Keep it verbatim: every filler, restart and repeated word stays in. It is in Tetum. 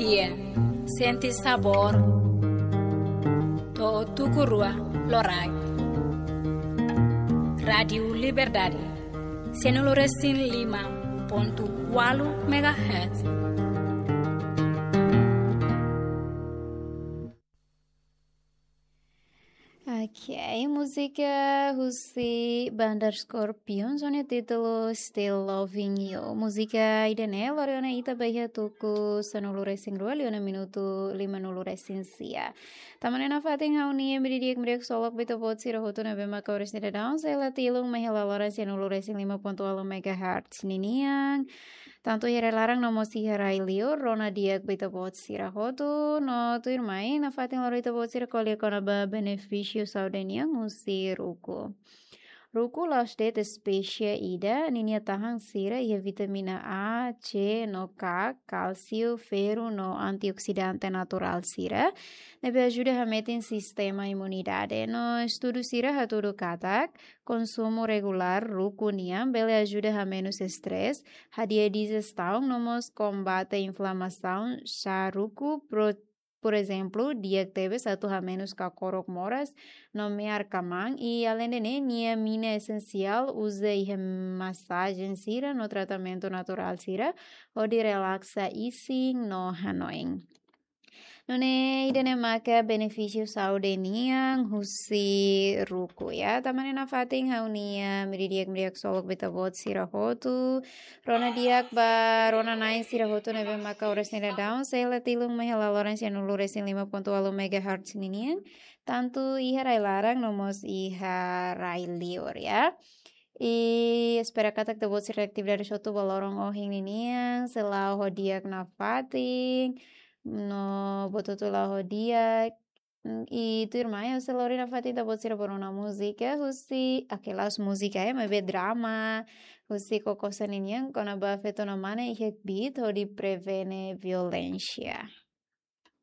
Sente sabór. To'o tuku rua loraik. Rádiu Liberdade. Sianulu resin lima pontu ualu megahertz. Ok, múzika husi Banda Scorpions, ho nia títulu Still Loving You. Múzika ida-ne'e lori ona ita ba iha tuku sanulu resin rua, liu ona minutu limanulu resin sia. Tanba ne'e nafatin ha'u-nia imi di'ak, imi di'ak ksolok ba ita-boot sira hotu ne'ebé maka oras ne'e daudaun sei la tilun mai iha laloran sianulu resin lima pontu ualu megahertz ninian. Tantu iha rai-laran no mós iha rai-liur, rona di'ak ba ita-boot sira hotu, no tuirmai nafatin lori ita-boot sira ko'alia kona-ba benefísiu saúde nian husi ruku. Ruku la'ós de'it espésie ida, ninia tahan sira iha vitamina A, C no K, kálsiu, ferru no antioksidante naturál sira, ne'ebé ajuda hametin sistema imunidade. No estudu sira hatudu katak, konsumu regulár ruku nian bele ajuda hamenus estrés, hadi'a dijesaun no mós kombate inflamasaun. Xá ruku, pro-, por ezemplu, di'ak tebes atu hamenus kakorok moras no me'ar kamaan, i aleinde ne'e nia mina esensiál uza iha masajen sira no tratamentu naturál sira hodi relaksa isin no hanoin. Nune'e ida-ne'e maka benefísiu saúde nian husi ruku, ya. Tanba ne'e nafatin ha'u-nia imi di'ak, imi di'ak ksolok ba ita-boot sira hotu, rona di'ak ba rona-na'in sira hotu ne'ebé maka oras ne'e daudaun sei la tilun mai iha laloran sianulu resin lima pontu ualu megahertz ninian, tantu iha rai-laran no mós iha rai-liur, ya. I espera katak ita-boot sira atividade hotu ba loron ohin ninian sei la'o ho di'ak nafatin, no buat hotu la'o ho di'ak. Mm, i tuirmai ha'u sei lori nafatin ita-boot sira ba rona múzika husi, ah, la'ós múzika, eh, maibé drama husi Kokosa ninian kona-ba feto no mane iha kbiit hodi prevene violénsia.